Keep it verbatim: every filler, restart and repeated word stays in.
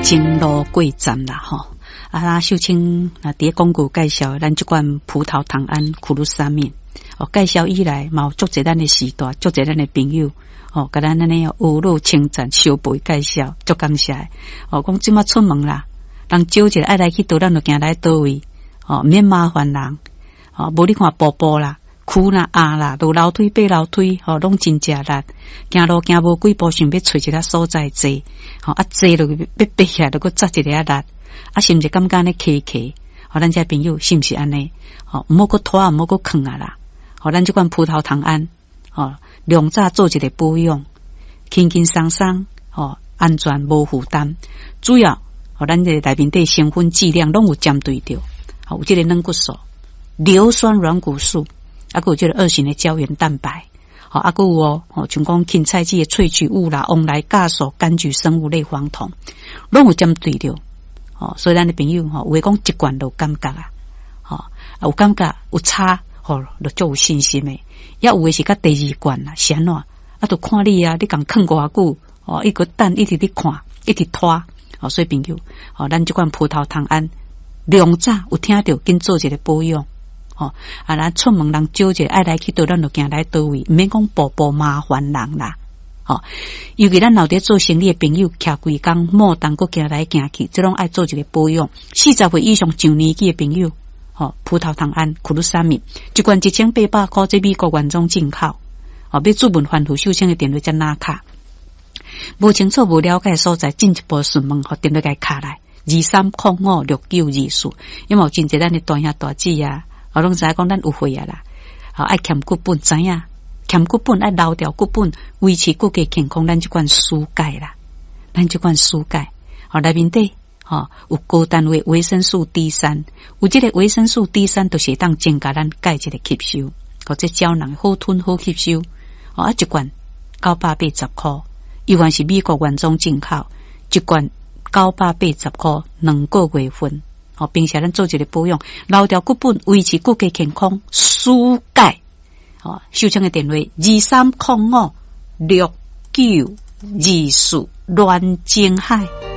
前路過站啦，吼。啊，秀清啊，佇咧廣告介紹咱這罐葡萄糖胺苦魯沙麵，哦，介紹以來嘛有足濟咱的時代，足濟咱的朋友，哦，共咱按呢呵咾稱讚，相背介紹，足感謝的。哦，講這馬出門啦，人招一下愛來去佗，咱就行來佗位，哦，毋免麻煩人，哦，無你看步步啦，跍啦、壓啦，落樓梯、爬樓梯，吼，攏真食力。行路行無幾步，想欲揣一个所在坐，吼，啊坐落去欲爬起來，就閣扎一下力。啊，是毋是感覺按呢磕磕？吼，咱這朋友是毋是按呢？吼，毋好閣拖，毋好閣囥啊啦！吼，咱這款葡萄糖胺，吼，量早做一个保養，輕輕鬆鬆，吼，安全無負擔。主要，吼，咱這內面底成分劑量攏有針對著，吼，有這個軟骨素、硫酸軟骨素，啊，閣有這個二型的膠原蛋白，吼，啊，閣有哦，吼，像講芹菜籽的萃取物啦、黃來酵素、柑橘生物類黃酮，攏有針對著。吼，所以咱的朋友吼，有的講一罐就有感覺啊，吼，啊有感覺有差，吼，就足有信心的。也有的是較第二罐啦，是按怎？啊，就看你啊，你共囥偌久，哦，伊閣等一直咧看，一直拖，哦，所以朋友，吼，咱這款葡萄糖胺量早有聽著，緊做一個保養，吼，啊，咱出門人招一下愛來去佗，咱就行來佗位，毋免講步步麻煩人啦。吼，尤其咱老佇做生理的朋友，徛規工莫當閣行來行去，這攏愛做一個保養。四十歲以上上年紀的朋友，吼，葡萄糖胺、苦魯沙米，一罐一千八百箍，這美國原裝進口。吼，欲注文番付秀清的電話才拿卡。無清楚、無了解所在，進一步詢問，予電話共敲來二三空五六九二四。因為有真濟咱的大兄大姊啊，我攏知影講咱有歲啊啦，吼愛欠骨本，知影？欠骨本愛留牢骨本，維持骨骼健康，咱這款舒鈣啦，咱這款舒鈣，吼內面底吼有高單位維生素 D 三，有這個維生素 D 三，就是會當增加咱鈣質的吸收，或者膠囊好吞好吸收，吼啊一罐九百八十箍，猶原是美國原裝進口，一罐九百八十箍，兩個月份，吼平時咱做一個保養，留牢骨本，維持骨骼健康，舒鈣。哦，秀清的電話二三空五六九二四亂金海。